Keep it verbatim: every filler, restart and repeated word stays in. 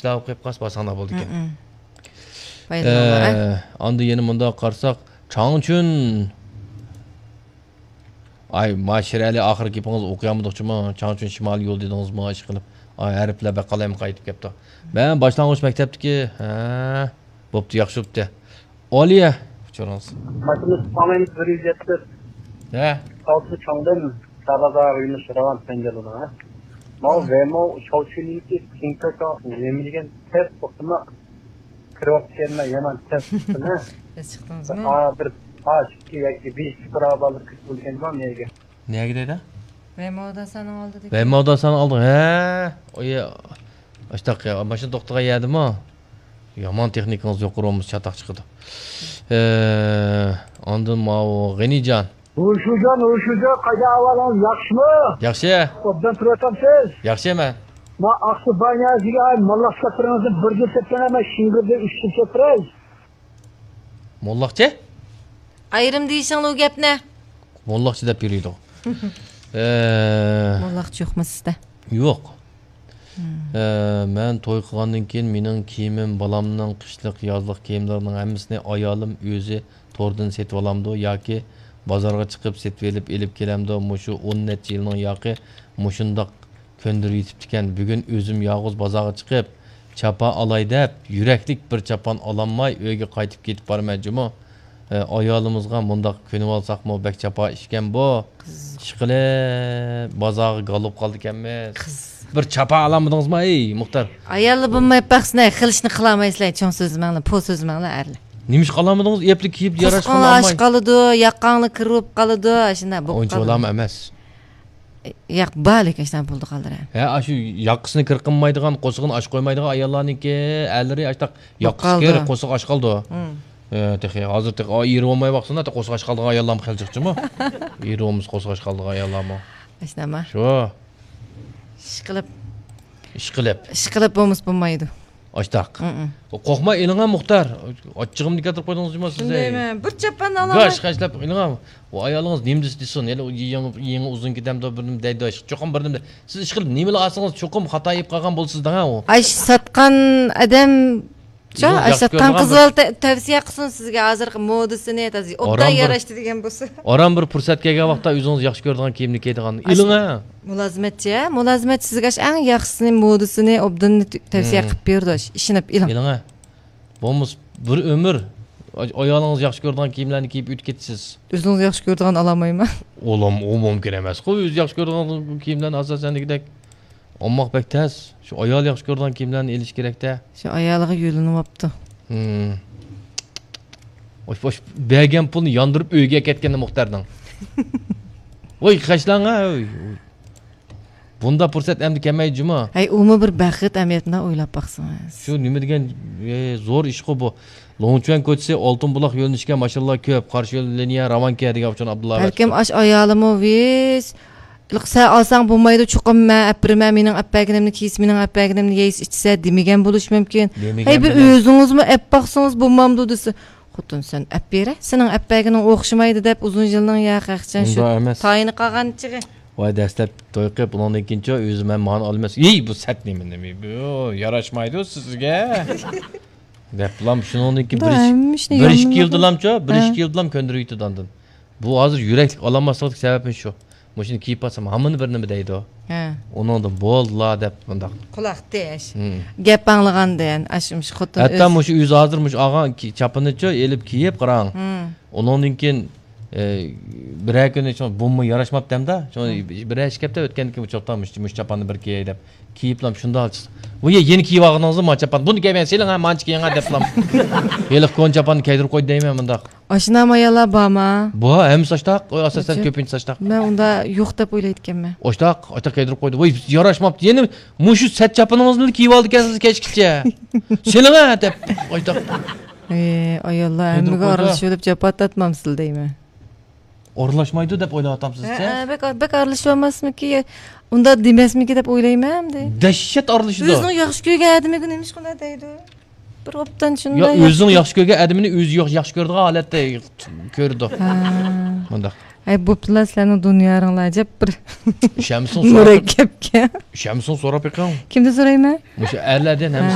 ئىشلار ئوقۇپ قالسا بارساڭلار بولىدىكەن. ئە، ئاندىن يەنە مۇنداق قارىساق، چاڭچۈن. ئاي، ما شىرئەلى، ئاخىرقى گېپىڭىز ئوقۇيالمىدۇق جۇمۇ. چاڭچۈن شىمالىي يول دېدىڭىزمۇ ئىشقىلىپ. ئاي، ھەرپلەر بەك قالايمىقان قېتىپ كەپتۇ. مەن باشلانغۇچ مەكتەپتىكى، ھە، بوپتۇ، ياخشى بوپتۇ. ئالىيە، ئۇچۇرىڭىز. ماشىنا تۇتالمايمىز، بىر يۈز يەتتە. ھە؟ ئالتە چاڭدىن سابازارغا يۈنۈش راۋان سەنجەلدىن، ھە؟ ماۋۇ ۋېمو شاۋچۈنىڭكى تىڭكاكا نېمە دېگەن تەس توختىما كىرىۋاپتىكەنمەن، يامان تەس توختىما. بىز چىقتىڭىزمۇ؟ ئا، بىر پاش ئىككى ياكى بېش پۇقرا بالىلار كىرىپ بولغان نېگە؟ نەگە دەيدۇ؟ ۋېمو داسانىڭ ئالدىدىكى. ۋېمو داسانىڭ ئالدىغا، ھە؟ ئۇ يە-، ئاشتاق يا، ماشىنا توختىغان يەردىمۇ؟ يامان تېخنىكىڭىز يۇقىرى بولمىسا چاتاق چىقىدۇ. ئە، ئاندىن ماۋۇ غېنىجان. ھوشۇجان، ھوشۇجان، قايدا ئەھۋالىڭىز، ياخشىمۇ؟ ياخشى. ئوبدان تۇرۇۋاتامسىز؟ ياخشى مەن. ما ئاقسۇ بانيازىگە موللاق سەپىرىڭىزنى بىردىن سەپىرەڭ، مەن شىڭگىردە ئۈچتىن سەپىرەي. موللاقچى؟ ئايرىم دېيىشىڭلار ئۇ گەپنى. موللاقچى دەپ يۈرىدۇ. ئە، موللاقچى يوقمۇ سىزدە؟ يوق. ئە، مەن توي قىلغاندىن كېيىن مېنىڭ كىيىمىم، بالامنىڭ قىشلىق، يازلىق كىيىملىرىنىڭ ھەممىسىنى ئايالىم ئۆزى توردىن سېتىۋالامدۇ ياكى بازارغا چىقىپ سېتىۋېلىپ ئېلىپ كېلەمدۇ؟ مۇشۇ ئون نەچچە يىلنىڭ ياقى مۇشۇنداق كۆندۈرۈۋېتىپتىكەن. بۈگۈن ئۆزۈم يالغۇز بازارغا چىقىپ، چاپان ئالاي دەپ، يۈرەكلىك بىر چاپان ئالالماي ئۆيگە قايتىپ كېتىپ بارىمەن جۇمۇ. ئە، ئايالىمىزغا مۇنداق كۆنۈۋالساقمۇ بەك چاپان ئىشكەن بۇ. ئىشقىلىپ بازارغا گالوپ قالىدىكەنمىز. بىر چاپان ئالالمىدىڭىزمۇ، ئەي مۇختەر؟ ئاياللار بولماي باقسىنا، خىل ئىشنى قىلالمايسىلەر، چوڭ سۆزلىمەڭلار، پو سۆزلىمەڭلار ئەرلەر. نېمىشقا ئالالمىدىڭىز؟ ئەپلىك كىيىپ ياراشقا قالماي. قورسىقىڭلار ئاچ قالىدۇ، ياقاڭلار كىر بولۇپ قالىدۇ، ئاشۇنداق بولۇپ قالىدۇ. ئۇنچە ئۇلامۇ ئەمەس. ياق، بار لېكىن شۇنداق بولىدىغانلار. ھە، ئاشۇ ياقىسىنى كىر قىلمايدىغان، قورسىقىنى ئاچ قويمايدىغان ئاياللارنىڭكى ئەرلىرى ئاشتاق ياقىسى كىر، قورسىقى ئاچ قالىدۇ. ھە، تېخى ھازىر تېخى، ئا، ئېرى بولماي باقسىنا، تېخى قورسىقى ئاچ قالىدىغان ئاياللارمۇ خېلى جىقچىمۇ؟ ئېرى بولمىسا قورسىقى ئاچ قالىدىغان ئاياللارمۇ. ئاشۇنداقمۇ؟ شۇ. ئىشقىلىپ. ئىشقىلىپ. ئىشقىلىپ بولمىسا بولمايدۇ. ئاشتاق. قورقماي ئېلىڭا مۇختەر. ئاچچىقىمنى كەلتۈرۈپ قويدىڭىز جۇمۇ سىز. شۇندايمەن. بىر چاپان ئالالاي. ياش خەجلەپ ئېلىڭا. ئۇ ئايالىڭىز نېمە دېسە دېسۇن. ھېلى ئۇ يېڭى، يېڭى ئۇزۇن كېتەمدۇ، بىر نېمە دەيدۇ. چوقۇم بىر نېمە. سىز ئىشقىلىپ نېمىلا ئالسىڭىز چوقۇم خاتا يەپ قالغان بولىسىز دەڭ ھە ئۇ. ئاش ساتقان ئادەم، شۇ ئاش ساتقان قىز بالا تە-، تەۋسىيە قىلسۇن سىزگە ھازىرقى مودىسىنى، ئوبدان ياراشتى دېگەن بولسا. ئاران بىر پۇرسەت كەلگەن ۋاقىتتا ئۆزىڭىز ياخشى كۆرىدىغان كىيىمنى كىيىدىغان. ئىلىڭ ھە. مۇلازىمەتچى، ھە؟ مۇلازىمەتچى سىزگە ئەڭ ياخشىسىنى، مودىسىنى، ئوبدىنىنى تەۋسىيە قىلىپ بېرىدۇ. ئىشىنىپ ئېلىڭ. ئىلىڭ ھە. بولمىسا بىر ئۆمۈر ئايالىڭىز ياخشى كۆرىدىغان كىيىملەرنى كىيىپ ئۆتۈپ كېتىسىز. ئۆزىڭىز ياخشى كۆرىدىغان ئالالمايمەن. ئۇلام، ئۇ مۇمكىن ئەمەسقۇ، ئۆزى ياخشى كۆرىدىغان كىيىملەرنى ئاساسەن دېگۈدەك. ئالماق بەك تەس. شۇ ئايال ياخشى كۆرىدىغان كىيىملەرنى ئېلىش كېرەك-دە. شۇ ئايالىغا يۆلىنىۋاپتۇ. ھىم. ئوش، ئوش، بەرگەن پۇلنى ياندۇرۇپ ئۆيىگە كەتكەندە مۇختەرنىڭ. ۋاي، خەجلەڭ ھە، ۋاي، ۋاي. بۇنداق پۇرسەت ئەمدى كەلمەيدۇ جۇمۇ. ھەي، ئۇمۇ بىر بەخت ئەمەلىيەتىنى ئويلاپ باقسىڭىز. شۇ نېمە دېگەن، ئە، زور ئىشقۇ بۇ. لوڭچۈەن كوچىسى، ئالتۇن بۇلاق يۆنىلىشكە ماشىنىلار كۆپ، قارشى يول لىنىيە راۋانكەن دېگەن ئۇچۇن ئابدۇللا. بەلكىم ئاش ئايالىمۇ ۋىس، سەن ئالساڭ بولمايدۇ، چوقۇم مەن ئەپ بېرىمەن، مېنىڭ ئەپ بەرگىنىمنى كىيسە، مېنىڭ ئەپ بەرگىنىمنى يەيسە، ئىچسە دېمىگەن بولۇشى مۇمكىن. ھەي، بىر ئۆزىڭىزمۇ ئەپ باقسىڭىز بولمامدۇ دېسە، خوتۇن سەن ئەپ بېرە، سېنىڭ ئەپ بەرگىنىڭ ئوخشىمايدۇ دەپ ئۇزۇن يىلنىڭ يا خەقچان شۇ تايىنى قالغان چېغى. ۋاي، دەسلەپ توي قىلىپ، ئۇنىڭدىن كېيىنچۇ ئۆزى مەن مانا ئالىمەن. ئېي، بۇ سەت نېمە، نېمە، بۇ ياراشمايدۇ سىزگە. دەپلام شۇنىڭدىن كېيىن بىر ئىش، بىر ئىش كېلىدىلامچۇ، بىر ئىش كېلىدىلام كۆندۈرۈۋېتىدۇ ئاندىن. بۇ ھازىر يۈرەكلىك ئالالماسلىقتىكى سەۋەبىمىز شۇ. مۇشۇنى كىيىپ بارسام ھامان بىر نېمە دەيدۇ. ھە. ئۇنىڭدىن بولدىلا دەپ مۇنداق. قۇلاق تىش. گەپ ئاڭلىغاندىن، ئاشۇ مۇشۇ خوتۇن ھەتتا مۇشۇ ئۆزى ھازىر مۇشۇ ئالغان چاپىنىچۇ ئېلىپ كىيىپ قاراڭ. ئۇنىڭدىن كېيىن، ئە، بىرەر كۈنى شۇ بۇمۇ ياراشماپتۇ ھەمدە. شۇ بىرەر ئىش كەپتە ئۆتكەندىن كېيىن بۇ چاپان، مۇشۇ، مۇشۇ چاپاننى بىر كىيەي دەپ. كىيىپلام شۇنداق. ۋۇ يەنە كىيىپ ئالغىنىڭىزمۇ ما چاپان. بۇنى كىيمەن، سېلىڭ ھە، مانچە كىيىڭ ھە دەپلام. ھېلىقى كونا چاپاننى كىيدۈرۈپ قويدى دەيمەن مۇنداق. ئاشۇنداق ئاياللار بارما؟ بار، ھەممىسى ئاشتاق. ئاساسەن كۆپىنچىسى ئاشتاق. مەن ئۇندا يوق دەپ ئويلايدىكەنمەن. ئاشتاق، ئاشتاق كىيدۈرۈپ قويدى. ۋاي، ياراشماپتۇ. يەنە مۇشۇ سەت چاپىنىڭىزنى كىيىۋالىدىكەنسىز كەچكىچە. سېلىڭە دەپ ئاشتاق. ئاياللار ھەممىگە ئارىلىشىۋېلىپ جاپا تارتمامسىلەر دەيمەن. ئارىلاشمايدۇ دەپ ئويلاۋاتامسىز سىز؟ ھە، بەك، بەك ئارىلىشىۋالماسمىكى؟ ئۇنداق دېمەسمىكى دەپ ئويلايمەن ئەمدى. دەھشەت ئارىلىشىدۇ. ئۆزىنىڭ ياخشى كۆرگەن ئادىمىگە نېمىشقا ئۇنداق دەيدۇ؟ بىر ئوبدان شۇنداق. يا، ئۆزىنىڭ ياخشى كۆرگەن ئادىمىنى ئۆزى ياخ-، ياخشى كۆرىدىغان ھالەتتە كۆرىدۇ. ھە. مۇنداق. ھەي، بوپتۇلا، سىلەرنىڭ دۇنياڭلار ئەجەب بىر ئىشەنمىسىڭ سوراپ، مۇرەككەپكەن. ئىشەنمىسىڭ سوراپ بېقىڭ. كىمدىن سورايمەن؟ مۇشۇ ئەرلەردىن ھەممىسى